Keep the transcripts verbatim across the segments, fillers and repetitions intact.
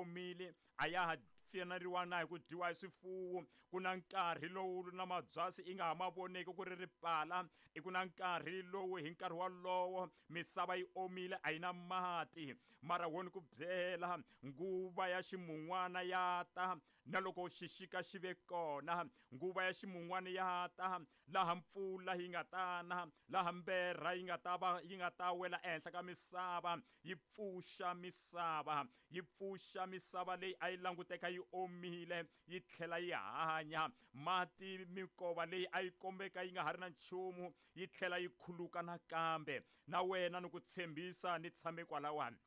omile a ya ha faneriwa na hi ku dyiwa hi swifuwo. Ku na nkarhi lowu na mabyasi i nga ha ma voneki ku ri ripala. I ku na nkarhi lowu hi nkarhi wolowo misava yi omile a yi na mati. Mara wo ni ku byela nguva ya ximun'wana ya ta, na loko xixika xi ve kona nguva ya ximun'wana ya ta, laha mpfula yi nga tana, laha mberha yi nga ta va yi nga ta wela ehenhla ka misava, yi pfuxa misava, yi pfuxa misava leyi a yi languteka yi omile yi tlhela yi hanya. Mati minkova leyi a yi kombeka yi nga ha ri na nchumu yi tlhela yi khuluka nakambe. Na wena ni ku tshembisa ni tshame kwalawani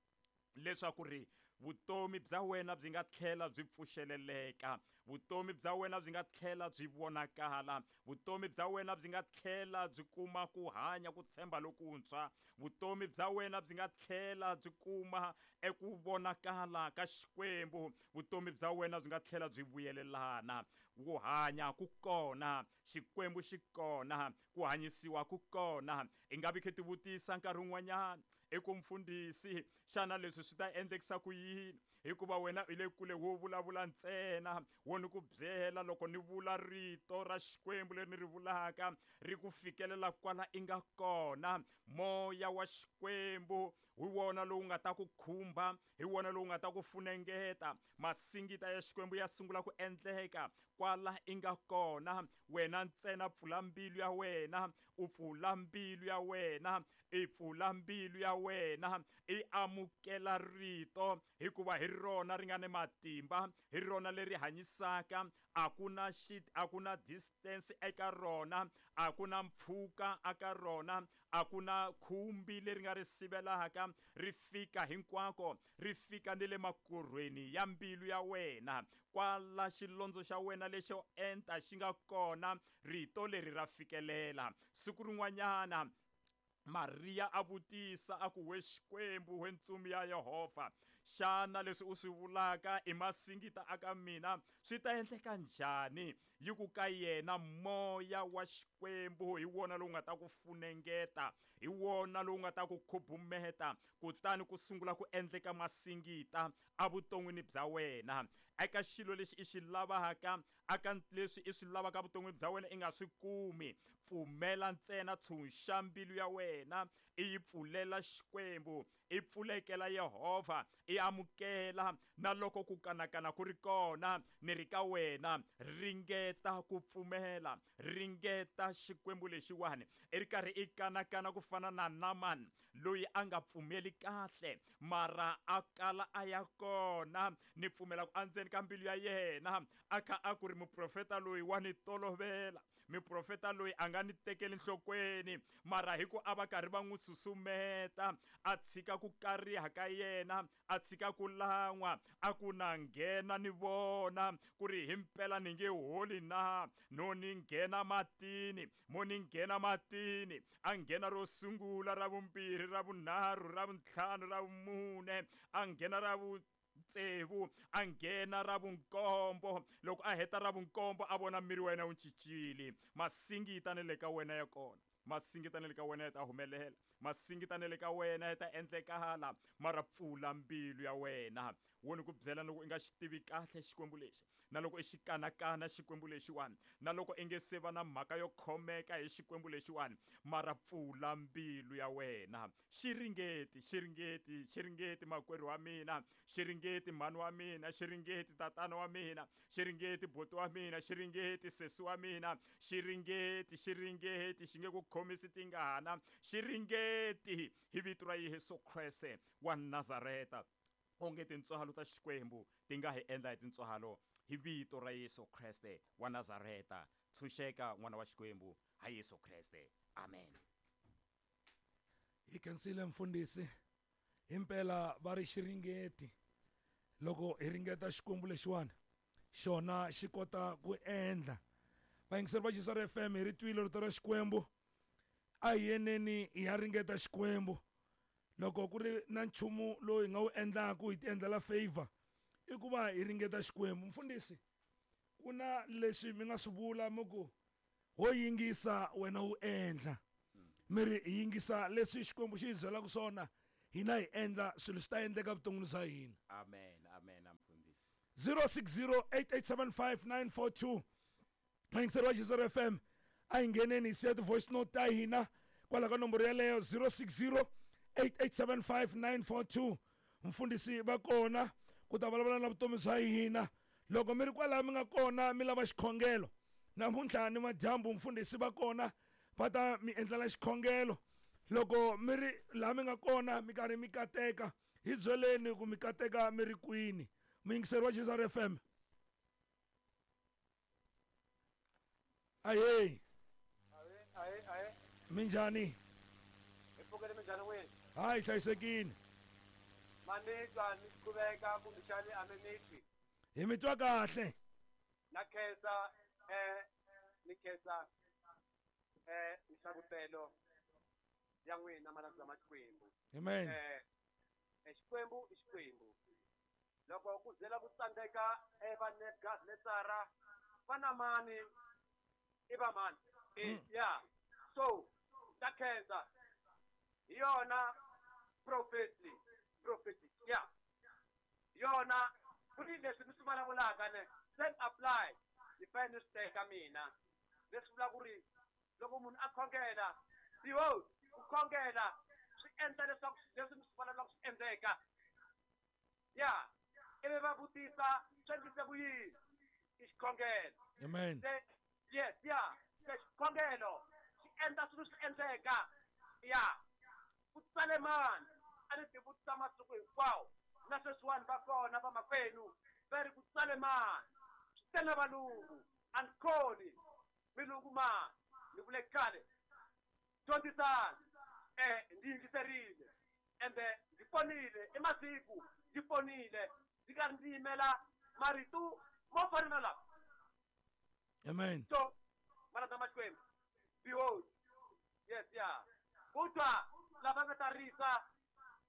leswaku ri vutomi bya wena byi nga tlhela byi pfuxeleleka, vutomi bya wena byi nga tlhela byi vonakala, vutomi bya wena byi nga tlhela byi kuma ku hanya ku tshemba lokuntshwa, vutomi bya wena byi nga tlhela byi kuma eku vonakala ka Xikwembu, vutomi bya wena byi nga tlhela byi vuyelelana. Ku hanya ku kona, Xikwembu xi kona, ku hanyisiwa ku kona. I nga vi khe tivutisa nkarhi wun'wanyana i ku mfundhisi, xana leswi swi ta endlekisa ku yini? Hikuva wena i le kule wo vulavula ntsena, wo ni ku byela loko ni vula rito ra Xikwembu leri ni ri vulaka ri ku fikelela kwala i nga kona. Moya wa Xikwembu hi wona lowu nga ta ku khumba, hi wona lowu nga ta ku funengeta. Masingita ya Xikwembu ya sungula ku endleka kwala i nga kona. Wena ntsena pfula mbilu ya wena, u pfula mbilu ya wena, i pfula mbilu ya wena, i amukela rito, hikuva hi rona ri nga ni matimba, hi rona leri hanyisaka. A ku na xi a ku na distance eka rona, a ku na mpfhuka eka rona, a ku na khumbi leri nga ri sivelaka, ri fika hinkwako, ri fika ni le makorhweni ya mbilu ya wena. Kwala xilondzo xa wena lexo enta xi nga kona, rito leri ra fikelela. Siku rin'wanyana Maria a vutisa a ku, we Xikwembu, we ntsumi ya Yehovha, xana leswi u swi vulaka i masingita aka mina swi ta endleka njhani? Yi ku ka yena, moya wa Xikwembu hi wona lowu nga ta ku funengeta, hi wona lowu nga ta ku khubumeta, kutani ku sungula ku endleka masingita evuton'wini bya wena. Eka xilo lexi i xi lavaka, aka leswi i swi lavaka evuton'wini bya wena i nga swi kumi, pfumela ntsena, tshunxa mbilu ya wena, i yi pfulela Xikwembu, i pfulekela Yehovha, i amukela. Na loko ku kanakana ku ri kona, ni ri ka wena, ringeta ku pfumela, ringeta Xikwembu lexiwani. I ri karhi i kanakana ku fana na Naaman loyi a nga pfumeli kahle, mara a kala a ya kona. Ni pfumela ku endzeni ka mbilu ya yena a kha a ku ri muprofeta loyi wa ni tolovela, muprofeta loyi a nga ni tekeli nhlokweni, mara hi ku a va karhi va n'wi susumeta a tshika ku kariha ka yena, a tshika ku lan'wa, a ku na nghena ni vona ku ri himpela ni nge holi na, no ni nghena matini, mo ni nghena matini. A nghena ro sungula, ra vumbirhi, ra vunharhu, ra vuntlhanu, ra vumune, a nghena ra vu tsevu, a nghena ra vunkombo. Loko a heta ra vunkombo a vona miri wa yena wu cincile. Masingita ni le ka wena ya kona, masingita ni le ka wena ya ta humelela, masingita ni le ka wena ya ta endlekala, mara pfula mbilu ya wena. Wo ni ku byela loko i nga xi tivi kahle Xikwembu lexi, na loko i xi kanakana Xikwembu lexiwani, na loko i nge se va na mhaka yo khomeka hi Xikwembu lexiwani, mara pfula mbilu ya wena. Xi ringeti, xi ringeti, xi ringeti makwerhu wa mina, xi ringeti mhani wa mina, xi ringeti tatana wa mina, xi ringeti buti wa mina, xi ringeti sesi wa mina, xi ringeti, xi ringeti, xi nge ku khomisi tingana, xi ringeti hi vito ra Yesu Kreste wa Nazareta. Onge tintswalo ta Xikwembu ti nga hi endla hi tintswalo hi vito ra Yesu Kreste wa Nazareta. Tshunxeka n'wana wa Xikwembu ha Yesu Kreste. Amen. Hi khensile mfundhisi, himpela va ri xiringeti. Loko hi ringeta Xikwembu lexiwani, xona xi kota ku endla. Vayingiseri va J S R F M, hi ri twile rito ra Xikwembu, a hi yeneni hi ya ringeta Xikwembu. Loko ku ri na nchumu lowu hi nga wu endlaku hi ti endlela favor, i ku va hi ringeta Xikwembu. Mfundhisi, ku na leswi mi nga swi vula mi ku ho yingisa wena wu endla, mi ri hi yingisa leswi Xikwembu xi hi byelaka swona, hina hi endla, swilo swi ta endleka vuton'wini bya hina. Amen, amen. zero six zero eight eight seven five nine four two mayingiseri wa G Z F M a hi ngheneni hi siya ti-voice note ta hina kwala ka nomboro yeleyo zero six zero eight eight seven five nine four two mfundhisi va kona ku ta vulavula na vutomi bya hina loko mi ri kwalaha mi nga kona mi lava xikhongelo namuntlha ni madyambu mfundhisi va kona va ta mi endlela xikhongelo loko mi ri laha mi nga kona mi karhi mi kateka hi byeleni ku mi kateka mi ri kwini muyingiseri wa G Z F M ahee ahe ahe minjhani hi pfukile minjhani n'wini hayi hlayisekile ma ni twa ni qhuveka kumbexani a mi ni twi hi mi twa kahle na khensa eh ni khensa eh nhlavutelo ya n'wina malandza ma Xikwembu amen eh Xikwembu i Xikwembu loko ku zela ku tsandzeka eva Nebukadnetsara va na mani i va mani ya so ta khensa hi yona prophecy prophecy ya yona ku ni leswi mi swi vulavulaka ne self apply ni fanele ni swi teka mina leswi vula ku ri loko munhu a khongela behold ku khongela swi endla leswaku leswi mi swi vulavulaka swi endleka ya ivi va vutisa swi endlise ku yini i xikhongelo amen se yes ya se xikhongelo xi endla swilo swi endleka ya ku tsale mani a ni ti vutisa masiku hinkwawo na sweswiwani va kona vamakwenu va ri ku tsale mani swi tele valungu a ni khoni milungu mani ni vule khale dyondzisani eh ndzi yingiserile ende ndzi ponile i masiku ndzi ponile ndzi karhi ndzi yimela marito mo fana na lawa amen so malandza ma Xikwembu behold yes ya ku twa lava nga ta risa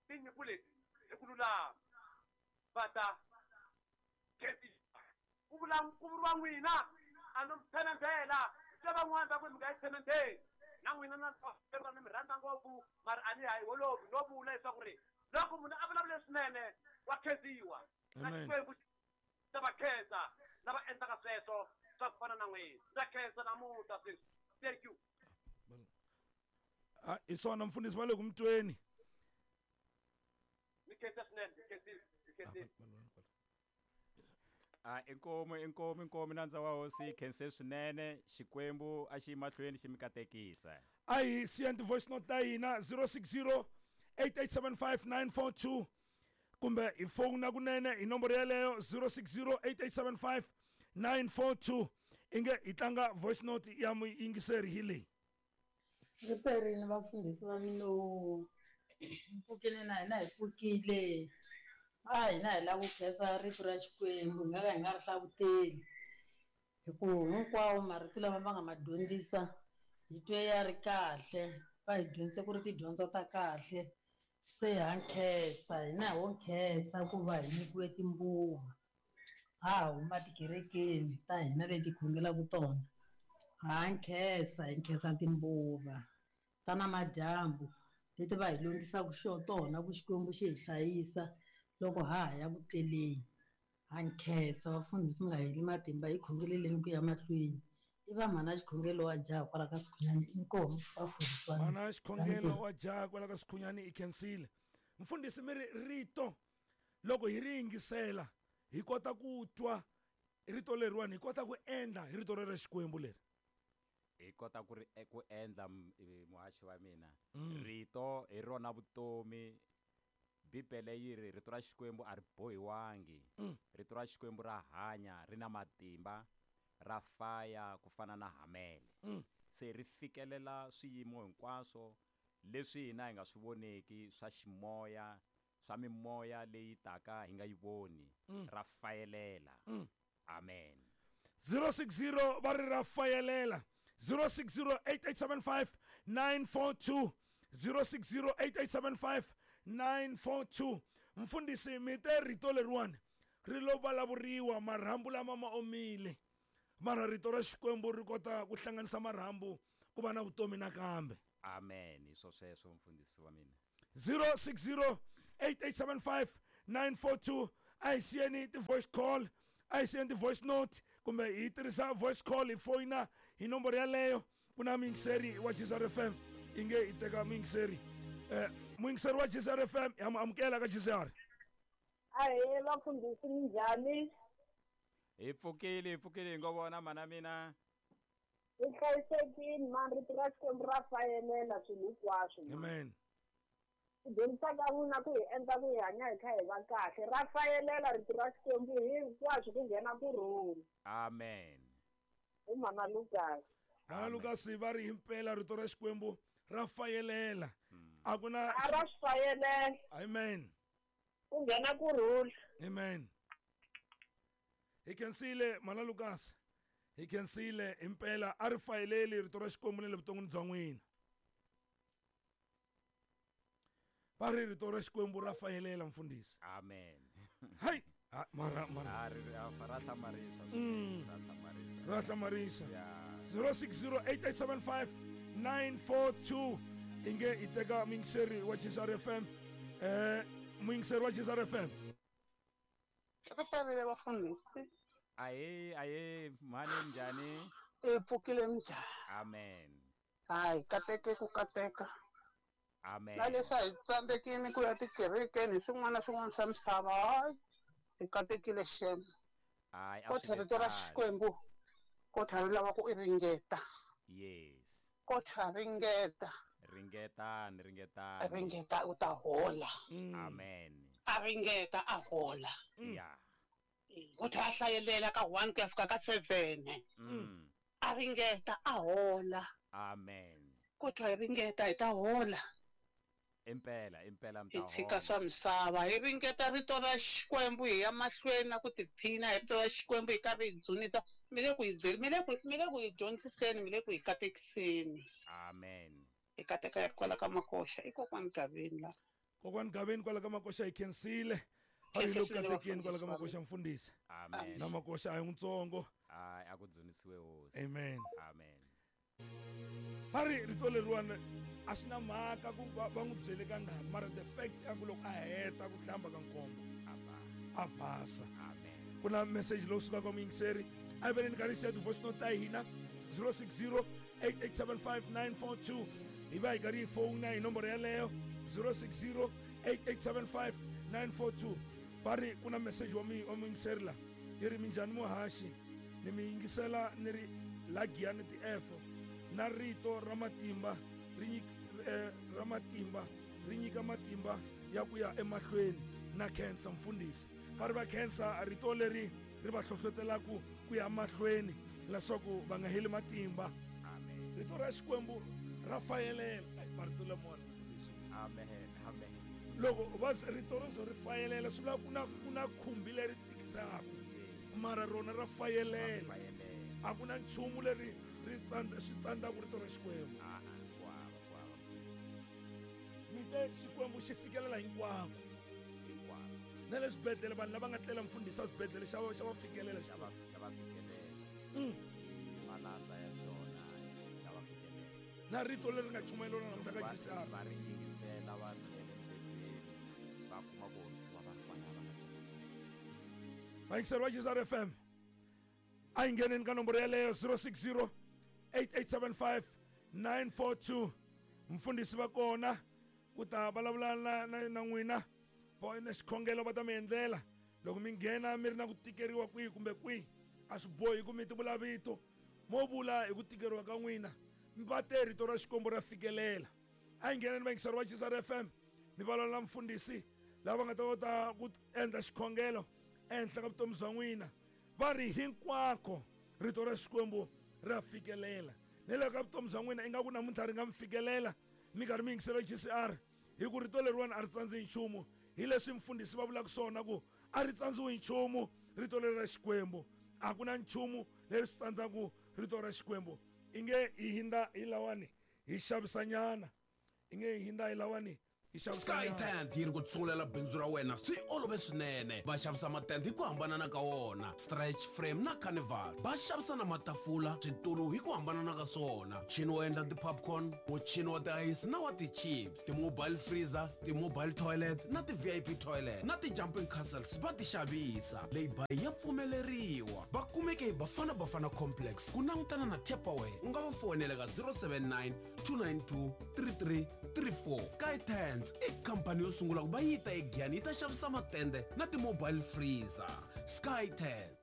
tinyimpfu leti hi ku lulama va ta khensiwa ku vula ku vuriwa n'wina a no mi tshemendela se van'wana va ku mi nga yi tshemendeli na n'wina na ni mi rhandza ngopfu mara a ni hayi holovi no vula leswaku ri loko munhu a vulavula swinene wa khensiwa na Xikwembu ta va khensa lava endlaka sweswo swa ku fana na n'wina ndza khensa namuntlha sweswi thank you ah hi swona mfundhisi va le ku mi tweni ni khensa swinene ni khensile ni khensile a inkomu inkomu inkomu nandza wa hosi khense swinene Xikwembu a xi mahlweni xi mi katekisa a hi siya ti-voice note ta hina zero six zero eight eight seven five nine four two kumbe hi fowuna kunene hi nomboro yeleyo zero six zero eight eight seven five nine four two inge hi tlanga voice note ya muyingiseri hi leyi riperini vafundhisi va mino mpfukile na hina hi pfukile a hina hi lava ku khensa rito ra Xikwembu hi nga ka hi nga ri hlavuteli hi ku hinkwawo marito lama va nga ma dyondzisa hi twe ya ri kahle va hi dyondzise ku ri tidyondzo ta kahle se ha nkhensa hina ho nkhensa ku va hi nyikiwe timbuva ha huma tikerekeni ta hina leti khongelaka tona ha nkhensa hi nkhensa timbuva ta namadyambu leti va hi longisaka xo tona ku Xikwembu xi hi hlayisa loko ha ha ya ku tleleni ha nkhensa vafundhisi mi nga heli matimba hi khongeleleni ku ya mahlweni i va mhana xikhongelo wa jaha kwala ka Sikhunyani inkomu vafundhisi va mhana xikhongelo wa jaha kwala ka Sikhunyani i khensile mfundhisi mi ri rito loko hi ri yingisela hi kota ku twa rito leriwani hi kota ku endla hi rito rero Xikwembu leri hi kota ku ri ku endla muhaxi wa mina rito hi rona vutomi Bibele yi ri rito ra Xikwembu a ri bohiwangi rito ra Xikwembu ra hanya ri na matimba ra faya ku fana na hamele se ri fikelela swiyimo hinkwaswo leswi hina hi nga swi voneki swa ximoya swa mimoya leyi taka hi nga yi voni ra fayelela amen zero six zero va ri ra fayelela zero six zero eight eight seven five nine four two zero six zero eight eight seven five nine four two mfundhisi mi te rito leriwani ri lo vulavuriwa marhambu lama ma omile mara rito ra Xikwembu ri kota ku hlanganisa marhambu ku va na vutomi nakambe amen hi swo sweswo mfundhisi wa mina zero six zero eight eight seven five nine four two a hi siyeni ti-voice call A hi send voice note kumbe hi tirhisa voice call hi foyina hi nomboro yaleyo. Ku na muyingiseri wa G C R F M, i nge hi teka muyingiseri. Eh, muyingiseri wa G C R F M, ya mu amukela ka G C R. Ahee vafundhisi, minjhani? Hi pfukile, hi pfukile hi ngo vona mana mina. Hi hlayisekile mani, rito ra Xikwembu ra fayelela swilo hinkwaswo. Amen. Ku dyondzisa ka n'wina ku hi endla ku hi hanya hi kha hi va kahle, ra fayelela rito ra Xikwembu hinkwaswo ku nghena kurhula. Amen. Hi mana Lucas. Mana Lucas va ri himpela rito ra Xikwembu ra fayelela. A ku na a ra swi fayelela. Amen. Ku nghena kurhula. Amen. Hi khensile mana Lucas. Hi khensile himpela a ri fayeleli rito ra Xikwembu na le vuton'wini bya n'wina. Va ri rito ra Xikwembu ra fayelela mfundhisi. Amen. Hayi, mara mara. A ri ra hlamarisa. Ra hlamarisa. Ra hlamarisa. zero six zero eight eight seven five nine four two inge i teka muyingiseri wa G C R F M. Eh, muyingiseri wa G C R F M. Ri vafundhisi. Aye, aye, mhani njhani? I pfukile minjhani? Amen. Hayi, kateke ku kateka. Amen. Na leswi a hi tsandzekini ku ya tikerekeni hi swin'wana na swin'wana swa misava, hayi, hi katekile xem. Hayi, a Kodwa rito ra Xikwembu kodwa ri lava ku i ringeta. Yes. Kodwa ringeta. Ringetani, ringetani. Ringeta u ta hola. Amen. A ringeta a hola. Yeah. Kodwa a hlayelela ka one ku ya fika ka seven. Mm. A ringeta a hola. Amen. Kodwa hi ringeta hi ta hola. Impela, impela mi ta Hi tshika swa misava, hi ringeta rito ra Xikwembu hi ya mahlweni na ku tiphina hi rito ra Xikwembu hi karhi hi dzunisa. Mi le ku hi byeli, mi le ku mi le ku hi dyondziseni, mi le ku hi katekiseni. Amen. Hi kateka ya kwala ka Makoxa, i kokwani Gaveni la. Kokwani Gaveni kwala ka Makoxa hi khensile. A hi le ku katekeni kwala ka Makoxa mfundhisi. Amen. Na Makoxa a hi ntsongo. Hayi, a ku dzunisiwe hosi. Amen. Amen. Va ri rito leriwani a swi na mhaka ku va n'wi byele kangani, mara the fact ya ku loko a heta ku hlamba ka nkombo a basa. Amen. Ku na message lowu sukaka muyingiseri. A hi veleni karhi hi siya ti-voice note ta hina zero six zero eight eight seven five nine four two. Hi va hi karhi hi fowuna hi nomboro yaleyo zero six zero eight eight seven five nine four two. Va ri ku na message wa wa muyingiseri la yi ri minjhani muhaxi, ni mi yingisela ni ri la Giyani T F na rito ra matimba ri nyika eh, ra matimba ri nyika matimba ya ku ya emahlweni na khensa mfundhisi. Va ri va khensa rito leri ri va hlohlotelaku ku ya mahlweni leswaku va nga heli matimba. Amen. Rito ra Xikwembu ra fayelela. Marito lamawani mfundhisi. Amen. Amen. Loko va rito ro zo ri fayelela swi vula ku na ku na khumbi leri tikisaku, mara rona ra fayelela. A ku na nchumu leri ri tsandza swi tsandzaka rito ra Xikwembu. Ah, kwava kwava. Mi te Xikwembu xi fikelela hinkwako. Hinkwako. Na le swibedhlele vanhu lava nga tlela mfundhisi a swibedhlele xa va xa va fikelela xa va xa va fikelela. Mm. Malandza ya xona xa va fikelela. Na rito leri nga chumayeriwa namuntlha ka G C R. Va ri yingisela va tlhele mbedweni va kuma ku horisiwa va ri kwala va nga tshama. Vayingiseri va G C R F M. A hi ngheneni ka nomboro yaleyo zero six zero eight eight seven five nine four two. Mfundhisi va kona ku ta vulavula na na na n'wina va na xikhongelo va ta mi endlela. Loko mi nghena mi ri na ku tikeriwa kwihi kumbe kwihi, a swi bohi ku mi ti vula vito, mo vula hi ku tikeriwa ka n'wina. Va te rito ra Xikwembu ra fikelela. A hi ngheneni vayingiseri va G C R F M mi vulavula na mfundhisi lava nga ta kota ku endla xikhongelo ehenhla ka vutomi bya n'wina. Va ri hinkwako rito ra Xikwembu ra fikelela. Na le ka vutomi bya n'wina ingaku namuntlha ri nga mi fikelela mi karhi mi yingisela G C R, hi ku rito leriwani a ri tsandzi nchumu. Hi leswi mfundhisi va vulaka swona ku a ri tsandziwi nchumu rito leri ra Xikwembu. A ku na nchumu leri swi tsandzaka rito ra Xikwembu. Inge hi hindza hi lawani hi xavisanyana, inge hi hindza hi lawani Hi xavisa Sky nyana. Tent yi ri ku tsungulela bindzu ra wena swi olove swinene. Va xavisa matende hi ku hambanana ka wona, stretch frame na carnival. Va xavisa na matafula, switulu hi ku hambanana ka swona, muchini wo endla ti-popcorn, muchini wa tiayisi na wa ti-chips, ti-mobile freezer, ti-mobile toilet na ti-V I P toilet na ti-jumping castles va ti xavisa. Lay-by ya pfumeleriwa. Va kumeke hi Bafana Bafana Complex ku langutana na Tupperware. U nga va fonela ka zero seven nine, two nine two, three three three four. Sky Tents i khampani yo sungula ku va yi ta eGiyani yi ta xavisa matende na ti-mobile freezer. Sky Tent.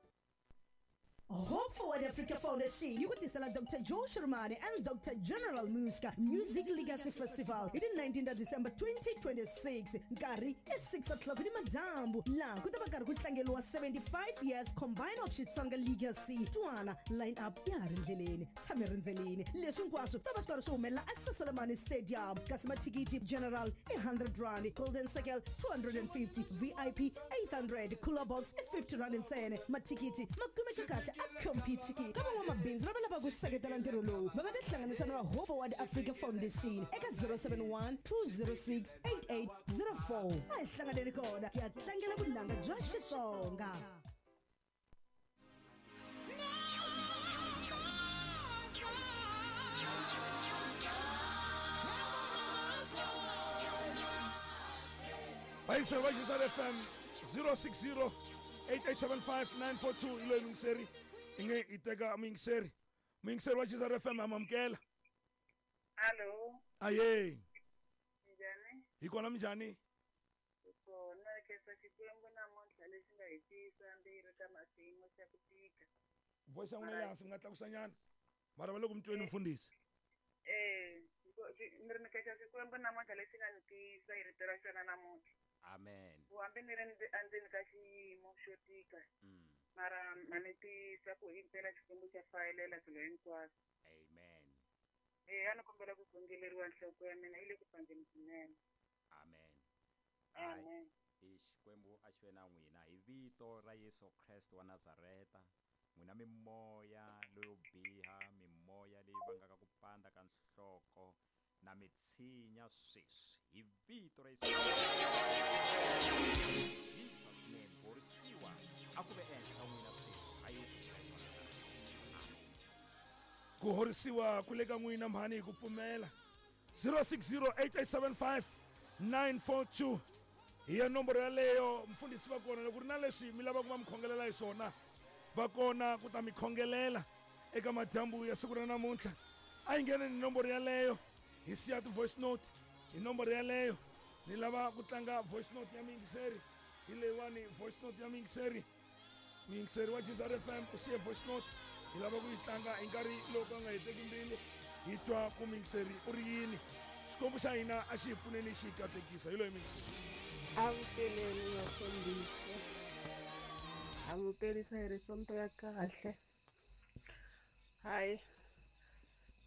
Hope Forward Africa Foundation yi ku tisela Doctor Joe Shirimani and Doctor General Muska Music Legacy Festival hi ti nineteen ta December twenty twenty-six, nkarhi i six o'clock ni madyambu, laha ku ta va karhi ku tlangeriwa seventy-five years combine of Xitsonga Legacy. Twana line up ya ha ri ndleleni, tshame rindzeleni. Leswi hinkwaswo ta va swi karhi swi humelela eSaselamani Stadium, kasi mathikithi general i hundred rand, golden circle two hundred and fifty, V I P eight hundred, cooler box i fifty rand ntsena. Mathikithi ma kumeka kahle a Computicket. Ka van'wamabindzu lava lavaka ku seketela ntirho lowu, va nga tihlanganisa na va Hope Forward Africa Foundation eka zero seven one, two zero six, eight eight zero four. A hi hlanganeni kona ku ya tlangela vunanga bya Xitsonga. Vayingiseri va Xisal F M, zero six zero, eight eight seven five, nine four two hi loyi muyingiseri i nge i teka muyingiseri. Muyingiseri wa Xisal F M, amamukela. Allo. Aye. Njhani? Hi kona, minjhani? Kona, khensa Xikwembu namuntlha lexi nga hi tiyisa mbirhi ka xiyimo xa ku tika. Voice ya n'wina le hansi, mi nga tlakusa nyana, mara va le ku mi tweni, mfundhisi. Eh, ni ri ni khensa Xikwembu namuntlha lexi nga ni tiyisa hi rito ra xona namuntlha. Amen. Ku hambi ni ri endzeni ka xiyimo xo tika, Mm. mara ma ni tiyisa ku himpela Xikwembu xa fayelela swilo hinkwaswo. Amen. Eh, a ni kombela ku khongeleriwa, nhloko ya mina yi le ku pandzeni swinene. Amen. Hayi, Amen. i Xikwembu a xi ve na n'wina hi vito ra Yesu Kreste wa Nazareta. N'wina mimoya leyo biha, mimoya leyi vangaka ku pandza ka nhloko, na mitshinya sweswi hi vito ra Yesu. Jesus name, horisiwa a ku ve ehenhla ka n'wina sweswi ha Yesu Kreste wa Nazareta. Amen. Ku horisiwa ku le ka n'wina, mhani, hi ku pfumela. zero six zero, eight eight seven five, nine four two hi ya nomboro yaleyo. Mfundhisi va kona, loko ku ri na leswi mi lavaka va mi khongelela hi swona, va kona ku ta mi khongelela eka madyambu ya siku ra namuntlha. A yi nghene ni nomboro yaleyo, hi siya ti-voice note hi nomboro yaleyo. Ni lava ku tlanga voice note ya muyingiseri, hi leyiwani voice note ya muyingiseri. Muyingiseri wa Jesus F M u siye voice note, hi lava ku yi tlanga hi nkarhi lowu ka nga heteki mbilu, hi twa ku muyingiseri u ri yini. Xikwembu xa hina a xi hi pfuneni, xi hi katekisa. Hi loyi muyingiseri. Amukeleni vafundhisi, amukelisa hi risonto ya kahle. Hayi,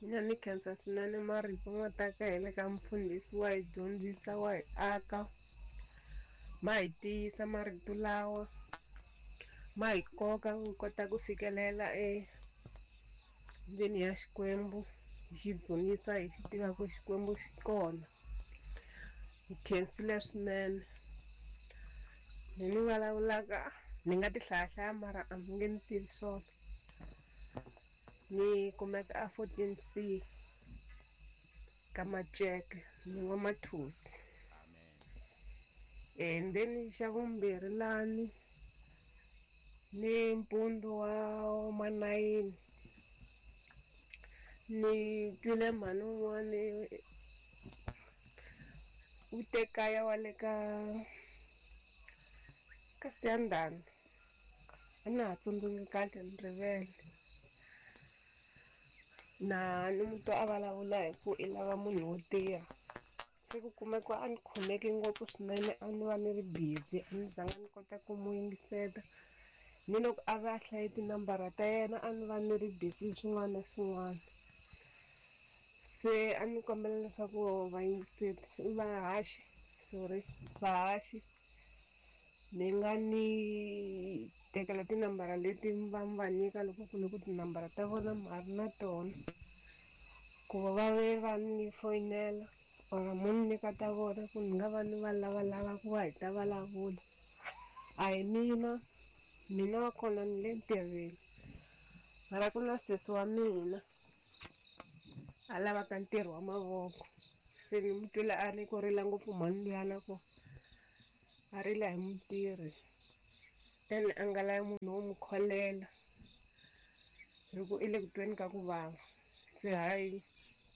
mina ni khensa swinene marito ma ta ka hi le ka mfundhisi, wa hi dyondzisa, wa hi aka, ma hi tiyisa marito lawa, ma hi koka ku kota ku fikelela endzeni ya Xikwembu, hi xi dzunisa, hi xi tiva ku Xikwembu xi kona. Hi khensile swinene. Ni ni vulavulaka ni nga ti hlayahlaya, mara a mi nge ni tivi swona. Ni kumeka a fourteen C ka Maceke, ni n'wamathusi. Amen. And then xa vumbirhi lani ni mpundzu wa manayini ni twile mhani un'wani u te kaya wa le ka ka Siyandhani, a na ha tsundzuki kahle, ni rivele na ni mu twa a vulavula hi ku i lava munhu wo tirha. Se ku kumeka a ni khomeke ngopfu swinene, a ni va ni ri busy, a ni zanga ni kota ku mu yingisela, ni loko a va a hlaye tinambara ta yena a ni va ni ri busy hi swin'wana na swin'wana. Se a ni kombela leswaku vayingiseri, vahaxi, sorry, vahaxi, mi nga ni tekela tinambara leti va mi va nyika loko ku ri ku tinambara ta vona ma ha ri na tona, ku va va ve va ni foyinela. Or mo ni nyika ta vona ku ni nga va ni va lavalava ku va hi ta vulavula. A hi mina, mina wa kona ni le ntirhweni. Mara ku na sesi wa mina a lavaka ntirho wa mavoko. Se ni mu twile a ri ku rila ngopfu mhani luyana ku a rila hi mutirhi. Then a nga lavi munhu wo n'wi kholela hi ku i le ku tweni ka ku vava. Se hayi.